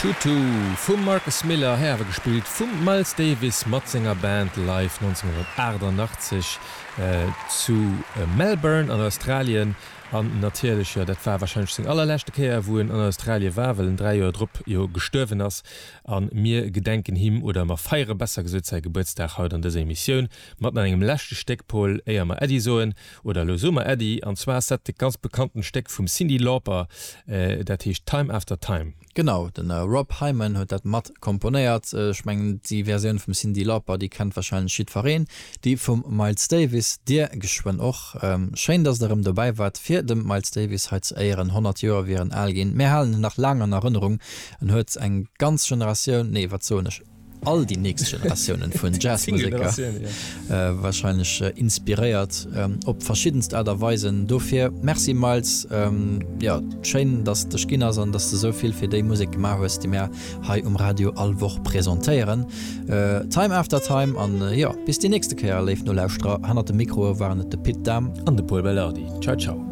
Tutu vum Marcus Miller, hei awer gespillt vum Miles Davis mat senger Band live 1988 zu Melbourne an Australien. An natierlech, jo, dat war warscheinlech seng allerleschte Kéier wou en an Australie war, well en 3 Joer drop jo gestuerwen ass. A mir gedenken him, oder mer feiere besser gesot säi Gebuertsdag haut an dëser Emissioun mat nach engem leschte Stéck, Paul, éier mer Äddi soen. Oder elo soe mer Äddi, an zwar ass dat e ganz bekanntent Stéck vum Cyndi Lauper, dat heescht Time After Time. Genau, de Rob Hyman huet dat mat komponéiert. Ech mengen déi Versioun vum Cyndi Lauper, déi kennt warscheinlech jiddwereen. Déi vum Miles Davis dir geschwënn och. Schéin, dass der erëm dobäi waart fir dem Miles Davis hei ze éieren. 100 Joer wier en al ginn. Mir halen en nach laang an Erënnerung. En huet eng ganz Generatioun, nee wat soen ech, all déi nächst Generatiounen vun Jazzmuseker wahrscheinlech inspiréiert op verschiddenst Aart a Weisen. Dofir Merci Miles, jo schéin dass et dech ginn ass an dass de sou vill fir déi Musek gemaach hues déi mär hei um Radio all Woch presentéieren. Time after time an jo bis déi nächste Kéier léif Nolauschterer. Hannert de Mikroe waren et de Pit Dahm an de Pol Belardi. Ciao ciao.